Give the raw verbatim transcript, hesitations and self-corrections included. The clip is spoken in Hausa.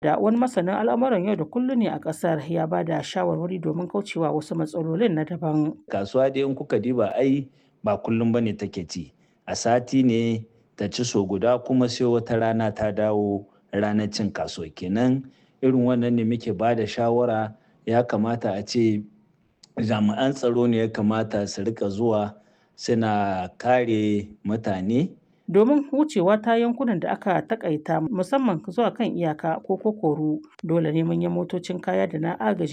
Da wani masanin al'amuran yau da kullum ne a ƙasar ya ba da shawarwari domin kaucewa wasu matsalolin na daban. Kasuwa dai in kuka diba ai ba kullum bane take ci. A sati ne ta ci sau guda kuma sai wata rana ta dawo ranar cin kasuwa kenan. Irin wannan ne muke ba da shawara ya kamata a ce jami'an tsaro ne ya kamata su rika zuwa suna kare mutane. Domin wucewa ta yankunan da aka takaita musamman zuwa kan iyaka ko kokoru, dole ne manyan motocin kaya da na agaji